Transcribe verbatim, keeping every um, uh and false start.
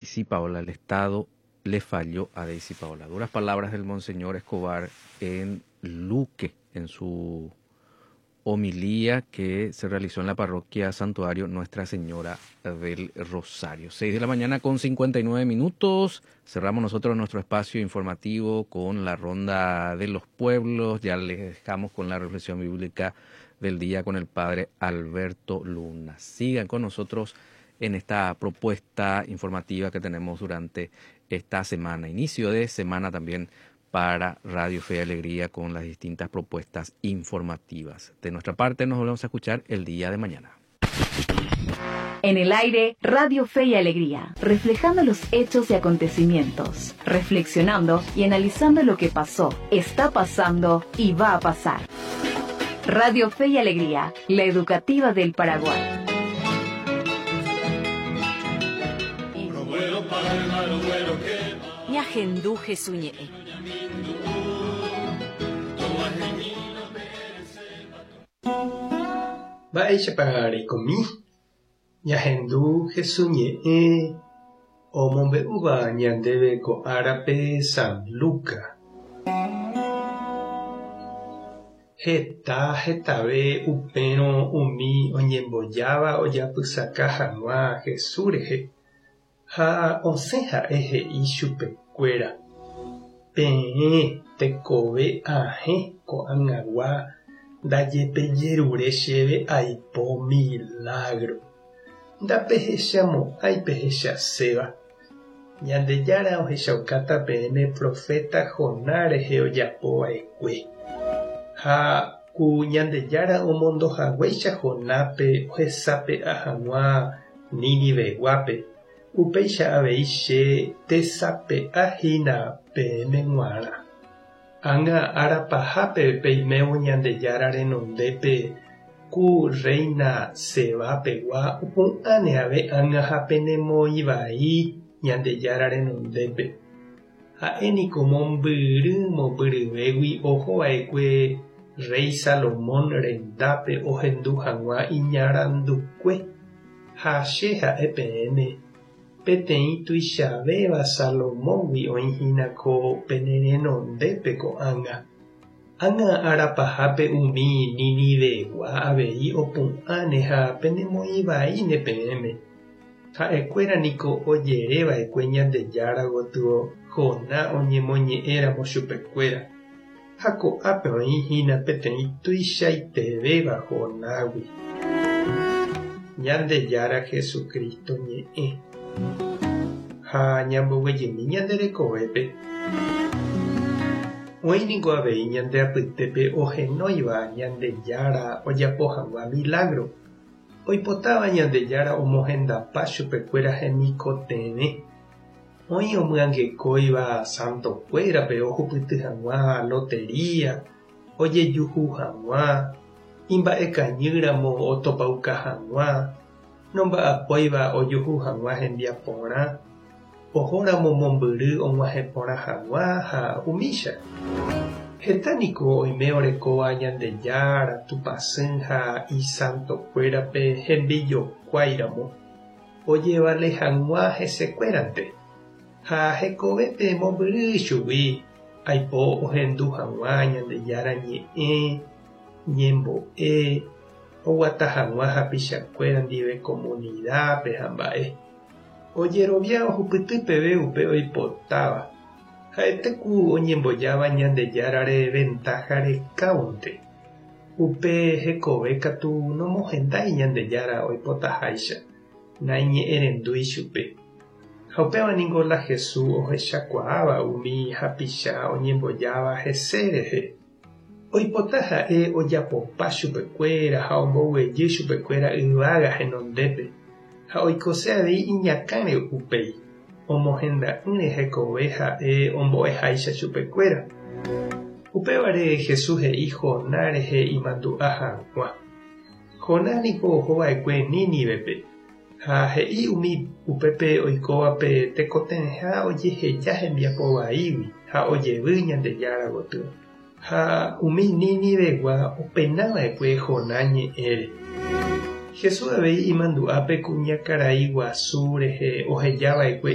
Daisy Paola, el Estado le falló a Daisy Paola. Duras palabras del Monseñor Escobar en Luque, en su homilía que se realizó en la parroquia Santuario Nuestra Señora del Rosario. Seis de la mañana con cincuenta y nueve minutos. Cerramos nosotros nuestro espacio informativo con la ronda de los pueblos. Ya les dejamos con la reflexión bíblica del día con el padre Alberto Luna. Sigan con nosotros en esta propuesta informativa que tenemos durante esta semana. Inicio de semana también para Radio Fe y Alegría con las distintas propuestas informativas. De nuestra parte nos volvemos a escuchar el día de mañana. En el aire, Radio Fe y Alegría, reflejando los hechos y acontecimientos, reflexionando y analizando lo que pasó, está pasando y va a pasar. Radio Fe y Alegría, la educativa del Paraguay. Ñahendú Jesús ñe'ẽ. Mba'éichapa reikomi? Ñahendu Jesús ñe'ẽ omombe'úva ñandéve ko árape San Lucas. Heta hetave upérõ umi oñembojáva ojapysaka hag̃ua Jesús rehe ha osẽ ha'e he'i chupekuéra. Peẽ tekove ahẽ ko'ag̃agua ndajepejerure chéve aipo milagro. Ndapehechamo'ãi pehechaséva. Ñandejára ohechaukáta peẽme profeta Jonás rehe ojapova'ekue. Ha ku Ñandejára omondohaguéicha Jonápe ohesape'a hag̃ua Niniveguápe. Upéicha avei che tesape'ahína peẽme g̃uarã. Ág̃a árapahápe peimévo Ñandejára renondépe ku reina Sebapegua opu'ãne ave ág̃a ha penemoĩvai Ñandejára renondépe. Ha'éniko mombyry mombyryvégui ohova'ekue rey Salomón rendápe ohendu hag̃ua iñarandukue. Ha che ha'e peẽme peteĩ tuichavéva Salomóngui oĩhína ko penerenondépe ko'ág̃a. Ág̃a árapahápe umi Ninivegua avei opu'ãne ha penemoĩvaíne peẽme. Ha'ekuéra niko ojereva'ekue Ñandejára gotyo Jonás oñemoñe'ẽramo chupekuéra. Ha ko'ápe oĩhína peteĩ tuichaitevéva Jonágui. Ñandejára Jesucristo ñe'ẽ. Ha ñamboguejymi ñande rekovépe. Oĩ niko avei ñande apytépe ohenóiva Ñandejára ojapo hag̃ua milagro. Oipotáva Ñandejára omohendapa chupekuéra hemikotevẽ. Oĩ omyangekóiva santokuérape ohupyty hag̃ua lotería, ojejuhu hag̃ua, imba'ekañýramo otopauka hag̃ua, nomba'apóiva ojuhu hag̃ua hembiaporã, ohóramo mombyry og̃uahẽporã hag̃ua ha umícha. Heta niko oime orekóva Ñandejára, Tupãsy ha isantokuérape hembijokuáiramo, ojevale hag̃ua hesekuérante. Ha hekovépe mombyry chugui aipo ohendu hag̃ua Ñandejára ñe'ẽ, ñembo'e, oguata hag̃ua hapichakuéra ndive comunidápe ha mba'e. Ojerovia ohupyty peve upe oipotáva. Ha'etéku oñembojáva Ñandejárare ventaja rekáunte. Upe hekove katu nomohendái Ñandejára oipotaháicha, naiñe'ẽrendúi chupe. Ha upéva niko la Jesús ohechakuaáva umi hapicha oñembojáva hese rehe. Oipota ha'e ojapopa chupekuéra ha omboguejy chupekuéra yvága henondépe. Ha oikose avei iñakãre upéi. Omohenda'ỹre hekove ha'e ombo'eháicha chupekuéra. Upévare Jesús he'i Jonás rehe imandu'a hag̃ua. Jonás niko ohova'ekue Nínivepe. Ha he'i umi upépe oikóvape tekotevẽha ojeheja hembiapovaígui ha ojevy Ñandejára gotyo. Ha umi Ninivegua openava'ekue Jonás ñe'ẽre. Jesús avei imandu'a pe kuñakarai guasu rehe ohejava'ekue